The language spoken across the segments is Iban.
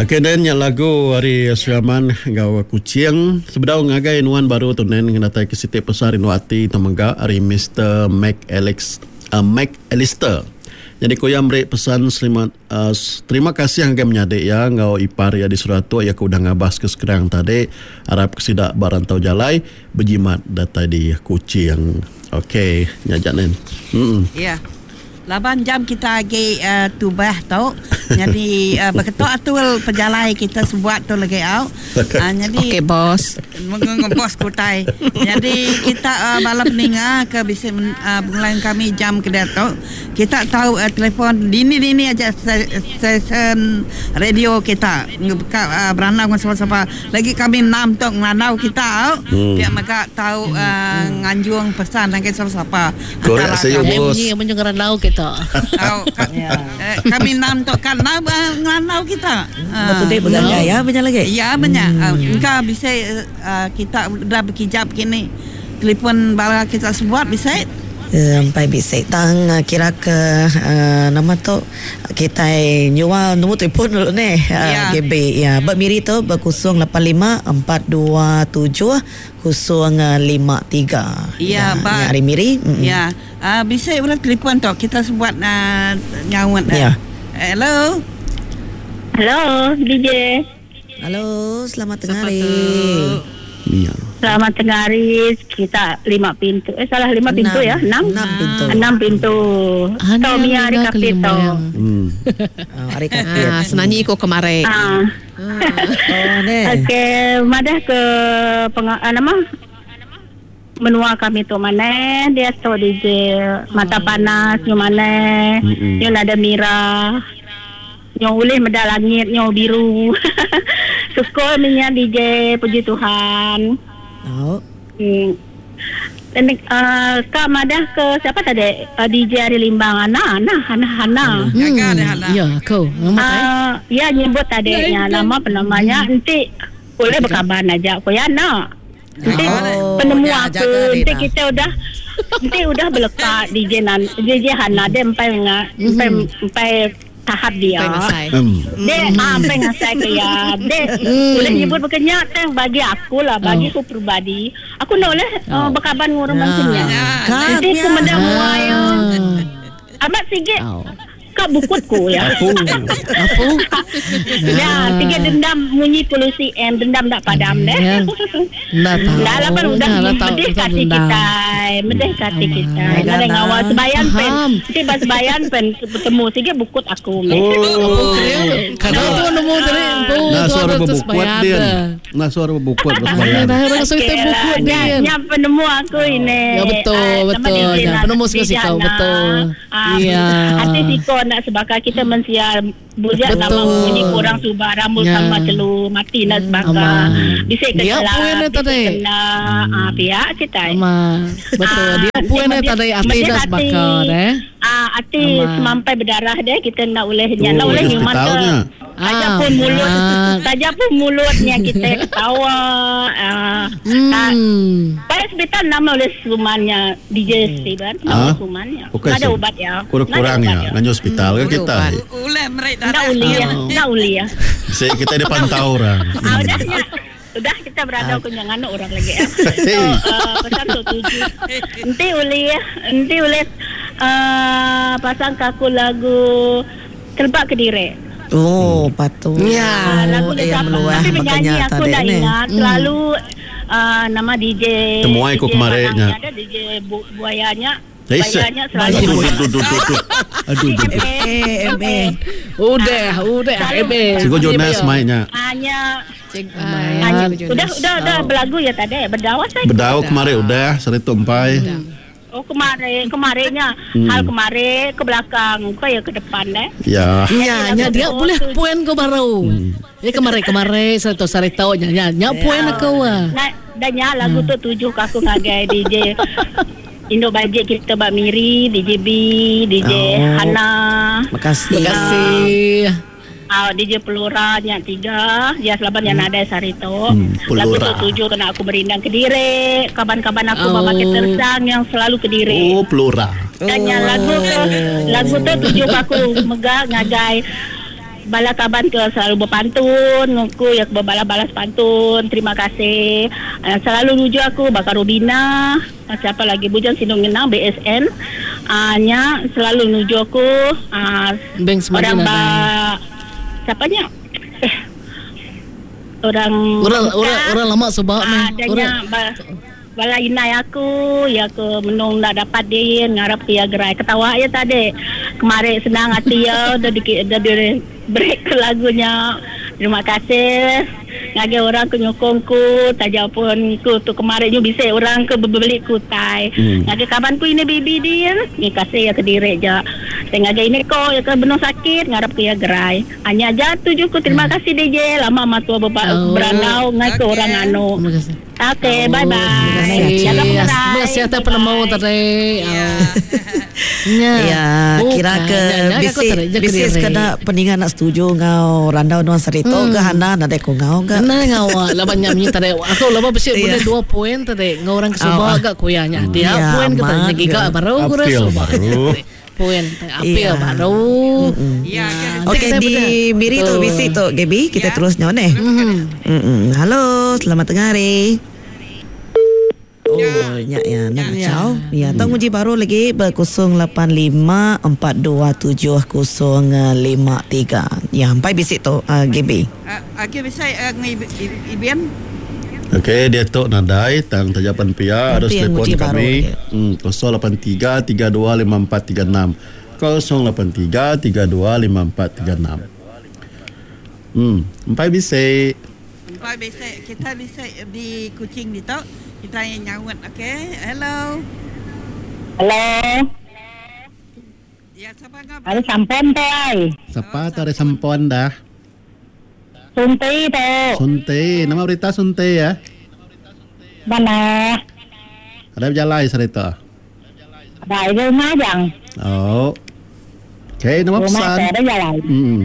Okey Nen nya lagu ari Sri Aman enggau Kuching. Sebedau ngagai nuan baru tu Nen ngenatai ke siti pesan rindu ati tu mega ari Mister Mac Alex uh, Mac Alister. Nyadi ku iya meri pesan selamat uh, terima kasih ngagai menyadi iya enggau ipar iya di Seratuk iya ke udah ngabas ke Skrang tadi. Arap ke sida ba rantau jalai bejimat datai di Kuching. Okey nya aja Nen. Hmm. Ya. Laban jam kita agi tubah tu nyadi beketu atul pejalai kita sebuat tu lagi au. Nyadi Okey bos. Bos ku utai. Nyadi kita bala peninga ke bisi begulai ngan kami jam ke diatu kita tau telefon dini-dini aja stesen radio kita ka berandau ngan sapa-sapa. Lagi kami enam tu ngelandau kita au. Pia mega tau nganjung pesan ngagai sapa-sapa. Korek seyu bos. Munyi munyi ngerandau kita. Tau kami enam tu kan enam ngerandau kita. Betul dek begagai ya benya lagi. Ya benya. Engka bisi kita udah bekijap kini telefon bala kita sebuat bisi. Empai bisi tang kira ke nama tu kitai nyual nombor telefon dulu neh GB ya ba Miri tu ba 085 427 053. Iya ba. Nya ari Miri. Iya. Bisi orang telefon tu kita sebuat nyaut. Ya. Hello. Hello DJ. Hello, selamat tengah hari. Mia. Selamat tengah hari. Kita lima pintu. Eh salah lima pintu ya. Enam. Enam pintu. Enam pintu. Ana Tau Mia ari ninga Kapit tau. kelimang. Oh, ari Kapit. Ah, senanyi ko kemari. Ah. Oh, neh. Okey, madah ke penga, ah, nama menua kami tu maneh dia tu DJ mata panas nyu maneh nyu nada mirah nyu ulih meda langit nyu biru syukur mih nya DJ puji Tuhan. Tau. Hmm. Uh, ka madah ke siapa tadi uh, DJ ari Limbang Ana Ana Ana Hana. Gaga deh Hana. Ya aku. Nama tai. Uh, ya nyebut tadi nya nama penamanya enti boleh berkaban aja ko ya nak. Enti Oh, penemu ya, aku jaga enti Rina. kita udah enti udah belekat DJ nan DJ Hana dia empai nga empai empai tahap dia. Empai ngasai. Dek ah empai ngasai ke iya. Dek boleh nyebut baka nya tang bagi aku lah bagi aku peribadi aku enda ulih uh, bekaban enggau orang bansa nya. Kan Enti aku nya. meda mua iya amat sigi ka bukut ku iya. Apu. Apu. Ya, sigi dendam munyi polusi M dendam enda padam deh. Ya. Enda tau. Enda lah pan udah Enda lah tau. medih Tau ka ati dendam. kitai, medih ka ati kitai. Nadai ngawa sebayan pen. Faham. Enti ba sebayan pen betemu sigi bukut aku meh. Oh. Kada tu nemu tadi empu Nah tu suara ada tu bebukut sebayan din. dah. Nah suara bebukut ba Ah, sebayan. dah orang Okey okay lah. bukut Nya, din. nya penemu aku ini. Ya betul, Ah, nama betul. DJ Ya, Nana- penemu DJ siko-siko, Hana. betul. Ah, Ya. Hati siko nak sebaka kita mensia bujak Betul. sama munyi kurang suba rambut Ya. sama celu mati nak sebaka. Aman. Bisik Dia kecelak, puan dia bisik tadi. kena ah, pihak kita. Ama. Betul. Ah, Dia puan dia medih- tadi ati medih dah hati. sebaka deh. Ah, ati Aman. semampai berdarah deh kita nak uleh nya Oh, nak uleh di nyuman ke. hospitalnya. Saja Ah, pun mulut, ah. saja pun mulutnya kita ketawa. Ah, tak Hmm. Pada hospital nama oleh sumannya DJ Steven, nama Ah? sumannya. Bukan Ada sih. ubat ya. Kurang-kurang Ada ya. ubat Nganyu hospital ke Ada kita. ubat. Uleh merik Ndak darah. uli ya, ndak uli ya. Si kita dia pantau orang. Ah, udah nya. Udah kita berada aku jangan orang lagi ya. So, uh, pesan tu tuju. Nanti uli ya, nanti uli uh, pasang kaku lagu Telbak ke Dire. Oh, patut. Ya. Ah, lagu dia yang siapa? meluah Tapi penyanyi makanya aku tadi dah ni. ingat selalu uh, nama DJ Temuai ku DJ kemarinnya. Malang ada DJ bu, buayanya. Eh, se- Buayanya selalu Aduh, aduh, aduh, aduh. Aduh, aduh. Eh, eh, eh. Udah, udah. Ebe. Cikgu Jonas mainnya. Hanya Cik, hanya ah, Cikgu udah Jonas. udah udah berlagu ya tadi berdawas saya. Bedau kemarin udah, seritu empai. Oh kemarin kemarinnya hal kemarin ke belakang kau ya ke depan deh. Ya. Ya, nya dia boleh puan kau baru. Ya kemarin kemarin sarito sarito nya nya nya puan aku ah. Nah, dan nya lagu tu tuju ke aku ngagai DJ Indo Bajet kita Bak Miri, DJ B, DJ Oh. Hana. Makasih. Terima kasih. Ah, DJ Pelora nya tiga, ya selaban yang ada sarito. Lagu Pelora. tu tuju kena aku berindang ke dire, kaban-kaban aku Oh. memakai tersang yang selalu ke dire. Oh, Pelora. Dan yang lagu tu lagu tu tuju ke aku mega ngagai Bala kaban ke selalu bepantun aku ya ke bebalas-balas pantun terima kasih selalu nuju aku baka Rubina siapa lagi Bujang Sinu Ngenang BSN aaa nya selalu nuju aku aaa orang ba siapa nya eh orang Orang orang orang lama suba meh. Orang ba Bala indai aku, iya ke menung enda dapat din ngarap ke iya gerai. Ketawa iya tadi. Kemari senang ati iya udah diki udah di break ke lagu nya. Terima kasih ngagai orang ke nyukung ku taja pun ku tu kemari nyu bisi orang ke bebeli ku utai. Ngagai kaban ku ini Bibi din, terima kasih iya kediri ja. Tai ngagai ini ko iya ke benung sakit ngarap ke iya gerai. Nya aja tuju ku terima kasih DJ lama matua berandau ngai ke orang anu. Okey, bye bye. Jaga pengerai. Terima kasih atas penemu tadi. Ya, ya kira ke bisi bisi sekeda peninga nak setuju ngau randau nuan sari tu ke hana nadai ku ngau ke. Nadai ngau laban nya munyi tadi aku laban bisi bulih dua poin tadi ngau orang ke suba ga ku iya nya. Dia poin ke tadi giga baru ku orang suba. Poin apil baru. Okey di Miri tu bisi tu Gaby kita terus nyaut neh. Halo selamat tengah hari. Oh nya ya enda ngachau. Ya tau nguji baru lagi ba 085 427 053. Ya empai bisi tu Gaby. Agi bisi Ibin. Okey diatu nadai tang taja pan pia harus telefon kami 083 32 54 36 083 32 54 36 Em empai bisi. Empai bisi kita bisi di Kuching ditu kita nyaut okey hello. Hello. Ya sapa enggau Ari Sampon tu ai. Sapa tu ari Sampon dah? Sunti tu. Sunti, nama berita Sunti ya? Manah. Ada bejalai serita? Ada di rumah jang. Oh. Okey, nama Rumah pesan? tu ada jalai. Hmm.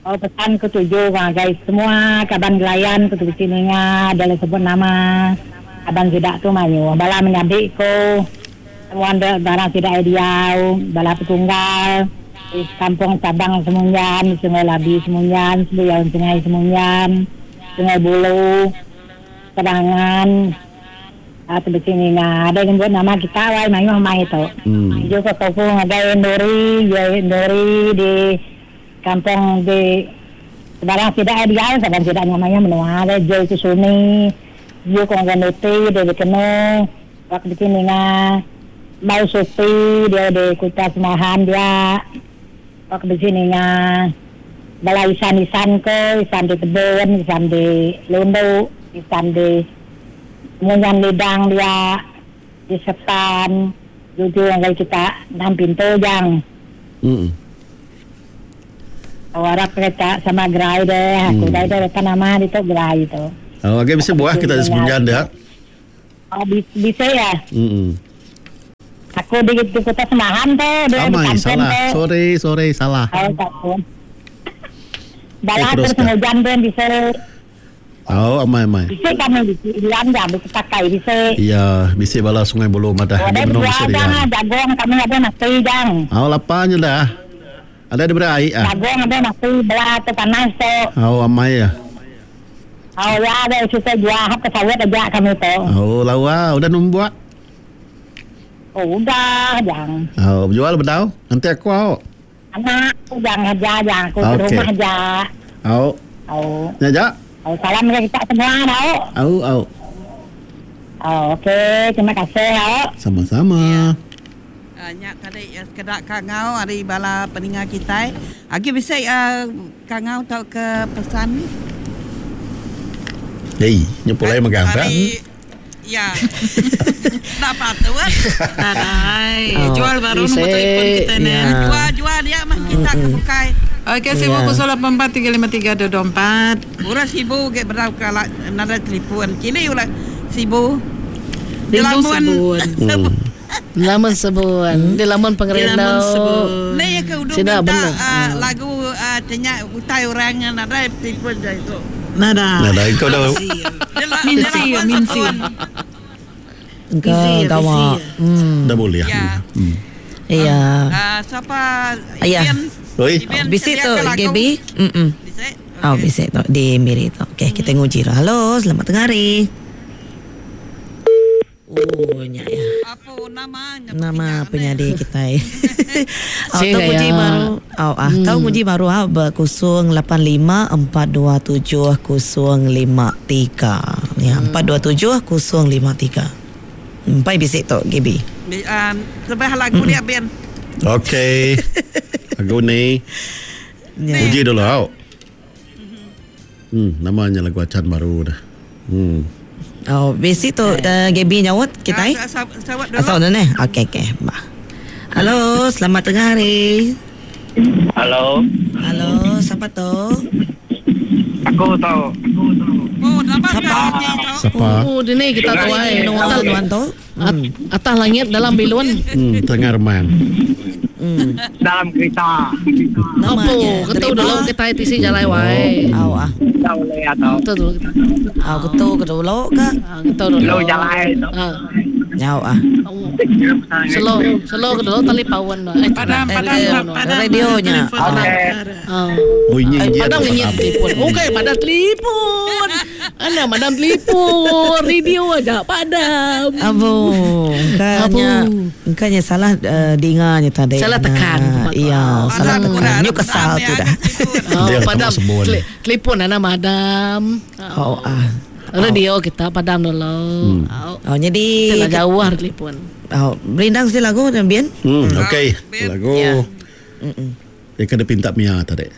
Oh pesan ku tuju ngagai semua kaban belayan ku tu bisi ninga dalam sebut nama kaban sida tu mayuh bala menyadi ku semua enda barang sida ai diau bala petunggal Di Kampung Sabang Semunjan, Sungai Labi Semunjan, Sebuyau Sungai Semunjan, Sungai Bulu, Serangan, tu bisi ninga adai nyebut nama kita wai mayuh amai tu. Tuju ko tofu ngagai Enduri, Jai Enduri di kampung di sebarang sida ai diau saban sida nya mayuh menua deh Jai ku Suni, Ju ko ngagai Nuti di Bekenu. Wak bisi ninga Mau Supi dia di Kuta Semahan dia. Wak bisi ninga bala isan-isan ke, isan di Tebun, isan di Lundu, isan di Munyan Lidang dia, di Sepan, juju ngagai kita enam pintu jang. Oh arap kita sama gerai deh, aku dai deh nama ditu gerai tu. Oh agi bisi buah kita di Semunjan dia. Oh, bisa ya? Mm. Aku di, di Kota Semahan tu, dia di Amai Kampen salah. tu. Sorry, sorry salah. Oh, tak apa. Balah Eh, terus teruskan. hujan pun bisa. Oh, amai amai. Bisa kami bisa diam jam bisa pakai bisa. Iya, bisi bala Sungai Bulu madah Oh, agi ada benung dua bisi jang rian. ah, jagung kami ada nasi jang. Oh, lapanya dah. Ada diberi air ah. Jagung ada nasi belah tu panas tu. Oh, amai ah. Oh ya, ada kita jual hap ke sawit aja kami tu. Oh, lawa udah numbuak. Oh, udah jang. Oh, berjual bedau. Nanti aku au. Anak aku jang aja jang aku ke Okey. rumah aja. Au. Oh. Ya, ja. Oh, salam ke kita semua tau. Au, au. Oh, okey, terima kasih tau. Sama-sama. Ya. Nya tadi sekeda kangau ari bala peninga kitai. Agi bisi kangau tauka pesan. Hei, nya pulai megang tak? Ari ya. Enda patut. Nadai. Oh, Jual baru nombor bisi. telefon kita ni. Ya. Jual jual dia mah kita ke bukai. Okey, sibu Ya. 084 353 224. Orang sibu ke berau kala nadai telefon. Kini ulah sibu. Rindu sebun. Sebun. Laman sebun. Di laman Di laman pengerindau. sebun. Ni ya ke udah Sida minta benar. lagu tanya utai orang yang nadai telefon dah itu. Nada. Nadai kau dah. Dia la- Minsi, dia laman minsi. sebun. Engkau Busy ya, gawa. busy ya. Hmm. Dah boleh. Ya. Hmm. Iya. Siapa Ya. Ian? Oi. Bisi tu Gaby. Mm. Oh bisi tu di Miri tu. Okey kita nguji tu. Halo, selamat tengah hari. Oh nya ya. Apo nama nya Nama penyadi kitai. Oh Sing tau nguji gaya. baru. Oh ah tau nguji baru ah ba 085 427 053. Ya 427 053. Empai bisi tu Gaby. Sebah lagu dia Ben. Okey. Lagu ni. Ya. Uji dulu au. Nama nya lagu acan baru dah. Oh, bisi tu uh, Gaby nyaut kitai. Sawat dulu. Asal dah neh. Okey okey. Bah. Halo, selamat tengah hari. Halo. Halo, siapa tu? Aku tahu. Oh, nama Siapa? Siapa? Oh, dini kita tuai. Menua Atas, nuan tu? atas langit dalam bilun. Tengah remang. Dalam kereta. Apa? Ketu dulu kita tisi jalai wai. Au ah. Tahu le atau. Ketu dulu kita. Au ketu ke dulu ke? Ah, ketu dulu. Lu jalai tu. Ah. Nyau ah. Slow, slow ke dulu tali pawan. Eh, Padam, padam, eh, padam. Radionya. Telefon Okey. Ah. Bunyi Eh, dia padam dah ngenyit padam. telefon. Okey, padam telefon. Ana madam telefon, radio aja padam. Abu, engkanya engkanya salah uh, dinganya tadi. Salah tekan. Nah, iya, salah Padam tekan. kurang Nyu kesal padam tu ya, dah. Oh, Dia padam sama sebun. telefon ana madam. Oh ah. Radio kita padam dulu. Oh. Oh, jadi Kita jauh hari telefon. Oh, berindang sih lagu dan bien. Okey. Lagu. Ya. Dia kena pinta Mia tadi.